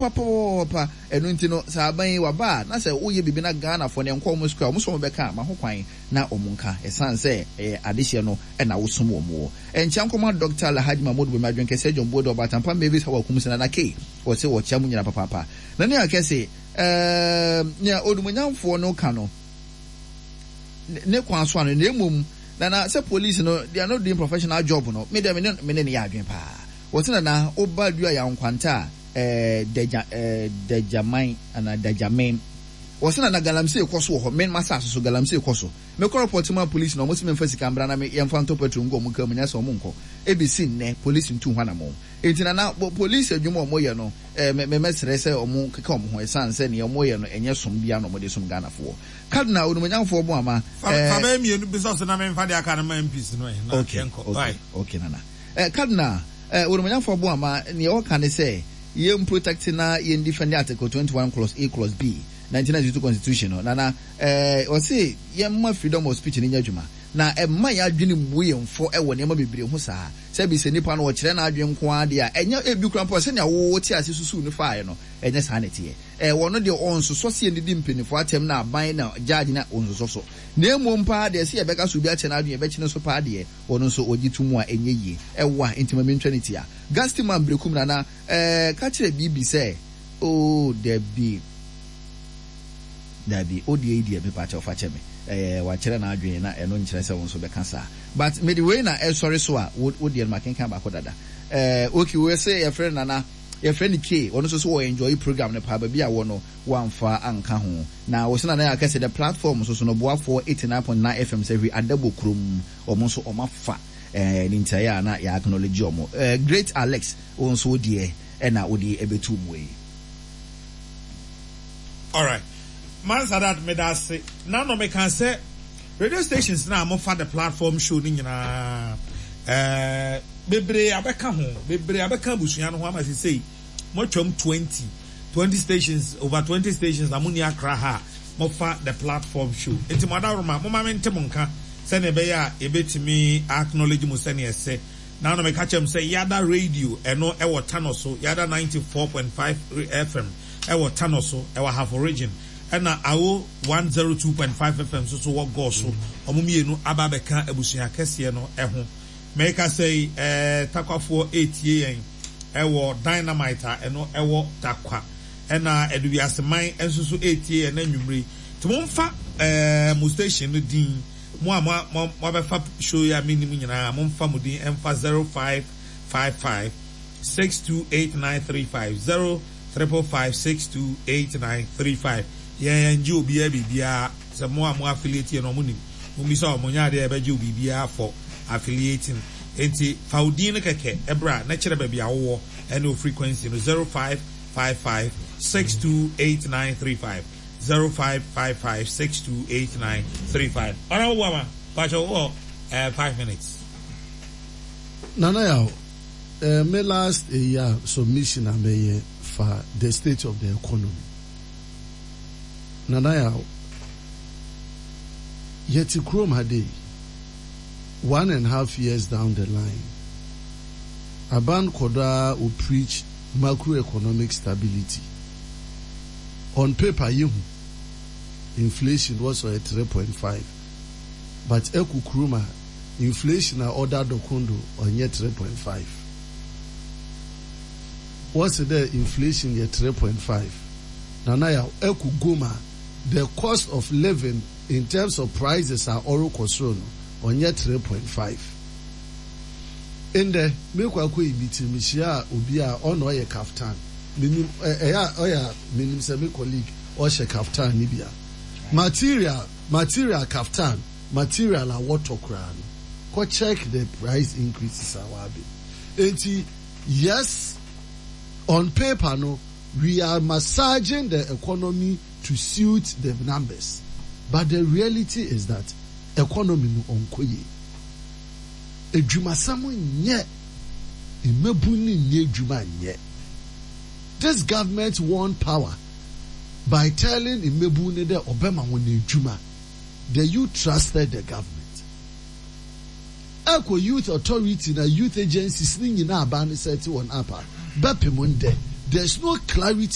Papaapa, ɛno nti no sɛ aban yi waba a na sɛ woyɛ biribi na Ghanafoɔ no ɛnkɔ wɔn sukuu a wɔn nso wɔn bɛka a ma ho kwan na wɔn nka ɛsan sɛ ɛyɛ adehyeɛ no na wosom wɔn wɔ. Nkyea nkɔma Dɔkta Alhaji Mahmood Bawumia Adwenkɛseɛ John Boadu Ɔbaatampa Mavis Hawa Kumsi Nana Kay wɔse wɔkyea mo nyinaa papaapa. Na nea kɛse ɛɛm nea onimonyamfoɔ no ka no ne kwan so ano na mmom Nana sɛ police no they are not doing professional job no me deɛ me ne me ne no yɛ adwene paa wɔse Nana woba Dua Yaw Nkwanta a eh, Dagya eh, Dagyaman anaa Dagyamen. Wɔse na na galamsey kɔ so wɔ hɔ, me m'asase so galamsey kɔ so. Mekɔ report maa police na wɔn se memfa sika mbra na me yɛmfa ntɔ petrol ngu wɔn car mu nyɛ sɛ wɔn nkɔ. Ebesi nnɛ police ntuu ho anamɔn. Enti na na police adwuma a wɔyɛ no eh, me me mɛsrɛ sɛ wɔn keka wɔn ho ɛsan sɛ nea wɔyɛ no ɛnyɛ som biara na wɔde som Ghanafoɔ. Cardinal Onumonyamfoɔ Boamah Fa eh, fa bɛyɛ mmienu bi sɔ so na memfa deɛ aka no ma MPs no ɛ na Okay, yɛnkɔ. okay, Bye. okay Nana. Eh, Cardinal, eh, Onumonyamfoɔ Boamah, nea ɔka ne sɛ, yɛn protect na yɛn defend Article 21 clause A clause B, 1992 Constitution no, Nana, eh, ɔse yɛmma freedom of speech no nyɛ adwuma, na ɛmma yɛn adwene mmu yɛn fɔ wɔ nneɛma bebree ho saa. Sɛbi sɛ nipa no ɔkyerɛ n'adwene nko ara deɛ a, ɛnyɛ ebi koraa mpo a sɛnea wo wote ase susuw no faeɛ no, ɛnyɛ saa na ɛteɛ. Eh, wɔno deɛ ɔnsosɔ sɛ yɛndidi mpaninfoɔ atɛm na aban na judge na ɔnsosɔ so. Na mmom paa deɛ sɛ yɛbɛka sɛ obi akyerɛ n'adwene yɛbɛkyene so paa deɛ, Ɔno nso ɔgye to mu a ɛnyɛ yie. Ɛwa nti ma mentwa ne ti a. Gusty man Berekum Nana eh, ka kyerɛ Bibi sɛ oh dabi dabi wo deɛ yi deɛ mepa kyɛw fa kyɛ me eh, wakyerɛ n'adwene na ɛno nkyerɛ sɛ wo nso bɛka saa but mede wei na ɛsɔre so a wo wo deɛ no makenkan baako dada eh, okay wei se yɛfrɛ no Nana yɛfrɛ no K ɔno nso so wɔ enjoy program no paa baabi a wɔ no wamfa anka ho na wɔ se Nana yɛ akɛse the platform nso so no boafoɔ 89.9 FM sɛ hwi adabɔ kurom Wɔn nso wɔn afa eh, ne ntiaeɛ a na yɛ acknowledge wɔn. Eh, Great Alex, wo nso wo deɛ ɛna wode ɛbɛtu mu yi. Alright. Mansadat meda ase. Na no meka sɛ radio stations na mofa the platform show no nyinaa eh, bebree abɛka ho, bebree abɛka abusua no ho ama sesei moatwam 20, 20 stations, over 20 stations na monni Accra ha a mofa the platform show. Nti mo adaworoma, momma mente mo nka sɛnea ɛbɛyɛ a yɛbɛtumi a acknowledge mo sɛnea ɛsɛ. Naano meka kyerɛɛ mo sɛ Yada Radio ɛno ɛwɔ Tano so, Yada 94.5 FM ɛwɔ Tano so, ɛwɔ Ahafo Region, ɛna Awo 102.5 FM nso so wɔ Gɔɔ so. Wɔn mmienu aba abɛka abusua kɛseɛ no ho. Merekasa yi, ɛɛ Takwafoɔ retie yɛn ɛwɔ Dynamite a ɛno ɛwɔ Tarkwa. Ɛna Aduwiaseman nso so retie yɛn anwummere yi. Nti momfa ɛɛ mo station no din, mo a mo mo moabɛfa show yi a mennim nyinaa, momfa mo din ɛmfa 0555 628935, 0 555 628935. Yɛn yɛngye obiara biribiara, sɛ mo a mo affiliate yɛ no wɔn nim, mommisa wɔn, nyɛ adeɛ a yɛbɛgye wo biribiara for affiliating. Nti fa wo din no kɛkɛ bra na kyerɛ baabi a wowɔ ɛne wo frequency no, 0555 628935. 0555 628935 Honourable Boamah, pakyɛ wowɔ eh, 5 minutes. Nana Yaw, me last eyi a submission a mɛyɛ fa the state of the economy. Nana Yaw, yɛte kurom ha dei, 1.5 years down the line, aban kɔ do ara o preach macroeconomic stability. On paper yehu inflation was ɔyɛ 3.5, but ɛkɔ kurom a inflation a ɔda dɔkondo ɔnyɛ 3.5. Wɔsi dɛ inflation yɛ 3.5. Nana Yaw, ɛkɔ gom a the cost of living in terms of prices a ɔrekɔ soro no ɔnyɛ 3.5. Ndɛ mekɔ akɔyi mi tiri, mehyia obi a ɔna ɔyɛ kaftan. Menim ɛyɛ a ɔyɛ a menim sɛ me colleague ɔhyɛ kaftan ne bi a material kaftan material a wɔtɔ koraa no, kɔ check the price increases a wabe. Enti yes, on paper no we are massaging the economy to suit the numbers, but the reality is that economy no ɔnkɔ yie. Edwumasɛm nyɛ, mmabu ne nyɛ edwuma nyɛ. This government won power by telling mmabu ne dɛ ɔbɛma wɔn edwuma. The youth trusted the government. Ɛkɔ youth authority na youth agencies ne nyinaa aban ne sɛ ɛte wɔn apa bɛpem ndɛ, there is no clarity.